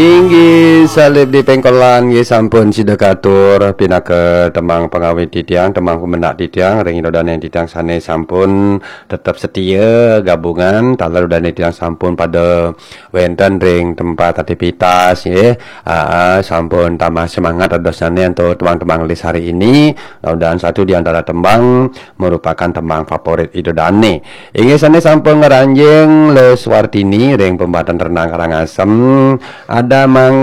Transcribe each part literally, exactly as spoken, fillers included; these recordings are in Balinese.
Inggih, salib di pengkolan nggih sampun sida katur pinaka tembang pangawit titiang, tembang pemendak titiang, ring ida dané titiang sané sampun tetep setia gabungan, taler ida dané titiang sampun pada wénten ring tempat aktivitas nggih. Aa, sampun tambah semangat ida dané antuk tembang-tembang lis hari ini. Mudah-mudahan satu di antara tembang merupakan tembang favorit ida dané. Inggih sané sampun ngranjing Luh Suwartini ring Pembatan Renang Karangasem. Ada Mang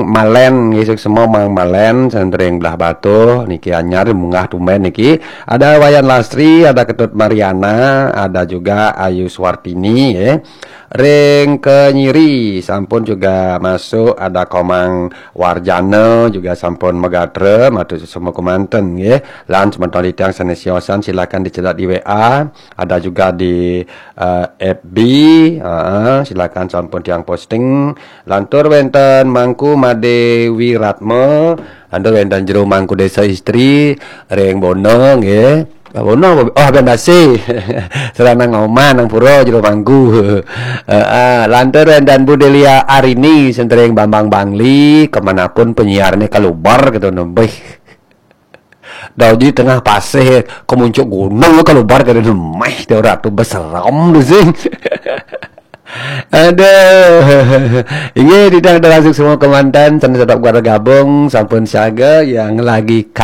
Malen, nggih suksma Mang Malen, sané ring Blahbatuh, niki anyar munggah tumbén niki. Ada Wayan Lastri, ada Ketut Mariana, ada juga Ayu Suwartini, nggih. Ring Kenyiri sampun juga masuk, ada Komang Warjana juga sampun magatra, matur suksma kemanten nggih. Lan semeton titiang sané siosan silakan dicedak di W A, ada juga di eh, F B, heeh, silakan sampun tiang posting. Lantur wénten Mangku Made Wiratma, lantur wénten Jero Mangku Desa Istri, ring Bono nggih. Bono, oh, Bandasi. Sarana Ngoman nang pura Jero Mangku. Heeh, lantur wénten Bu Delia Arini, sané ring Bambang Bangli, kemanapun penyiarnya kalubar gitu nembih. Dah uji tengah pasih, kemuncuk gunung kalubar kada nemeh, dia ratu beseram tu sing. Aduh. Inggih, titiang ida dané suksma kemanten, sané tetap gabung, sampun siaga yang lagi